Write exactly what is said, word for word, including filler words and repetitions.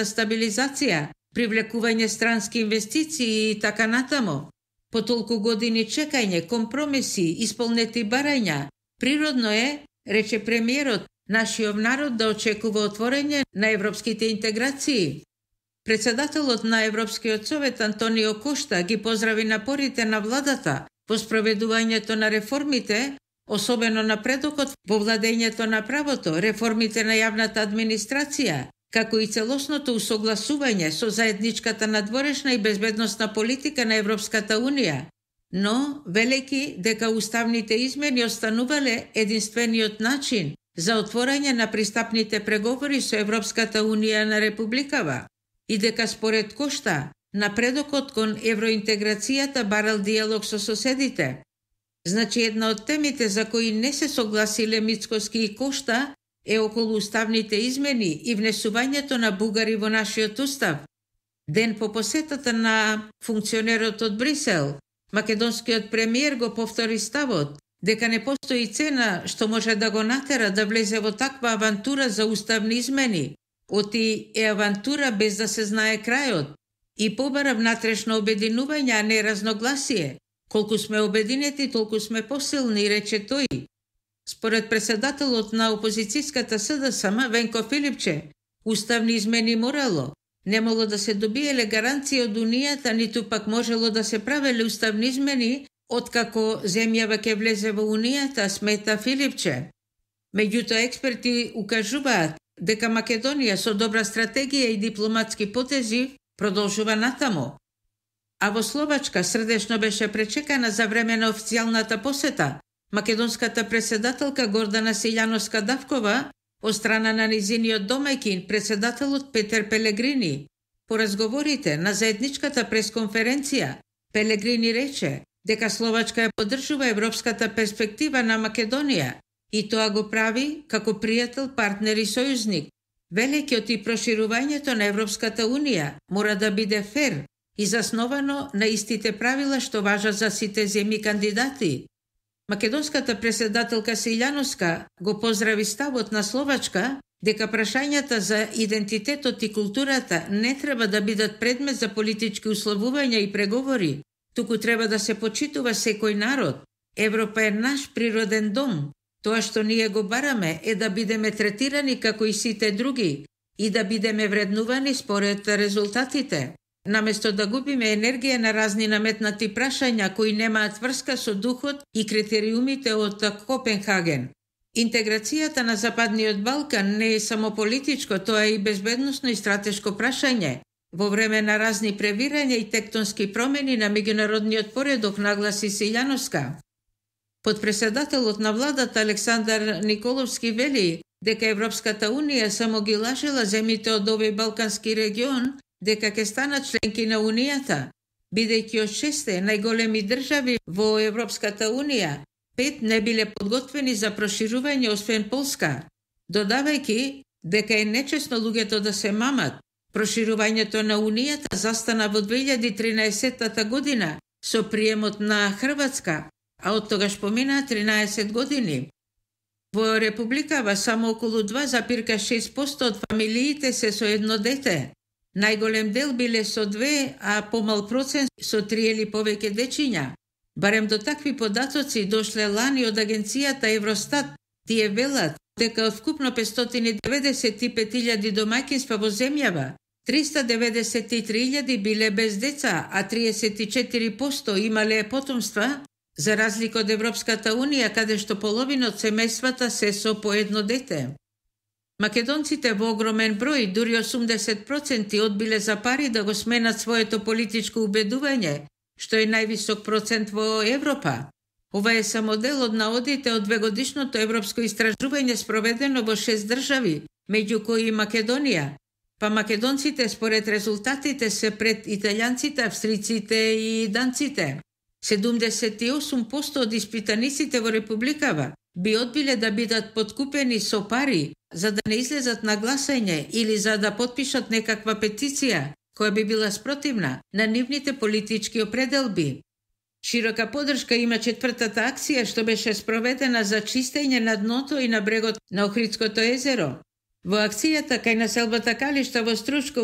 стабилизација, привлекување странски инвестиции и така натамо. По толку години чекање, компромиси, исполнети барања, природно е, рече премиерот, нашиот народ да очекува отворање на европските интеграции. Председателот на Европскиот совет Антонио Кошта ги поздрави напорите на владата во спроведувањето на реформите, особено напредокот во владењето на правото, реформите на јавната администрација, како и целосното усогласување со заедничката надворешна и безбедносна политика на Европската унија, но велики дека уставните измени останувале единствениот начин за отворање на пристапните преговори со Европската унија на републикава и дека според Кошта напредокот кон евроинтеграцијата барал диалог со соседите. Значи една од темите за кои не се согласиле Мицкоски и Кошта е околу уставните измени и внесувањето на бугари во нашиот устав. Ден по посетата на функционерот од Брисел, македонскиот премиер го повтори ставот дека не постои цена што може да го натера да влезе во таква авантура за уставни измени. Оти е авантура без да се знае крајот и побара внатрешно обединување, а не разногласие. Колку сме обединети, толку сме посилни, рече тој. Според председателот на опозицијската СДСМ Венко Филипче, уставни измени морало, немало да се добиеле гаранција од Унијата, ниту пак можело да се правеле уставни измени откако земјава ќе влезе во Унијата, смета Филипче. Меѓутоа експерти укажуваат дека Македонија со добра стратегија и дипломатски потези продолжува натамо. А во Словачка срдечно беше пречекана за време на официјалната посета македонската председателка Гордана Силјановска-Давкова од страна на низиниот домајкин, председателот Петер Пелегрини. По разговорите на заедничката пресконференција, Пелегрини рече дека Словачка ја поддржува европската перспектива на Македонија и тоа го прави како пријател, партнер и сојузник. Великиот и проширувањето на Европската унија мора да биде фер и засновано на истите правила што важат за сите земји кандидати. Македонската председателка Силјановска го поздрави ставот на Словачка дека прашањата за идентитетот и културата не треба да бидат предмет за политички условувања и преговори, туку треба да се почитува секој народ. Европа е наш природен дом. Тоа што ние го бараме е да бидеме третирани како и сите други и да бидеме вреднувани според резултатите, наместо да губиме енергија на разни наметнати прашања кои немаат врска со духот и критериумите од Копенхаген. Интеграцијата на Западниот Балкан не е само политичко, тоа е и безбедносно и стратешко прашање. Во време на разни превирања и тектонски промени на меѓународниот поредок, нагласи Силјановска. Подпредседателот на владата Александар Николовски вели дека Европската унија само ги лажела земјите од овој балкански регион дека ќе станат членки на Унијата, бидејќи од шесте најголеми држави во Европската унија, пет не биле подготвени за проширување освен Полска, додавајќи дека е нечесно луѓето да се мамат. Проширувањето на Унијата застана во две илјади и тринаесетта година со приемот на Хрватска, а од тогаш помина тринаесет години. Во Републикава само околу два запирка шест проценти од фамилиите се со едно дете. Најголем дел биле со две, а помал процент со три или повеќе дечиња. Барем до такви податоци дошле лани од агенцијата Евростат. Тие велат дека од вкупно петстотини деведесет и пет илјади домаќинства во земјава, триста деведесет и три илјади биле без деца, а триесет и четири проценти имале потомства, за разлика од Европската унија, каде што половина од семејствата се со по едно дете. Македонците во огромен број, дури осумдесет проценти, одбиле за пари да го сменат своето политичко убедување, што е највисок процент во Европа. Ова е само дел од наодите од двегодишното европско истражување спроведено во шест држави, меѓу кои Македонија. Па македонците според резултатите се пред италијанците, австриците и данците. седумдесет и осум проценти од испитаниците во Републикава би одбиле да бидат подкупени со пари за да не излезат на гласање или за да потпишат некаква петиција која би била спротивна на нивните политички определби. Широка поддршка има четвртата акција што беше спроведена за чистење на дното и на брегот на Охридското езеро. Во акцијата кај населбата Калишта во Стручко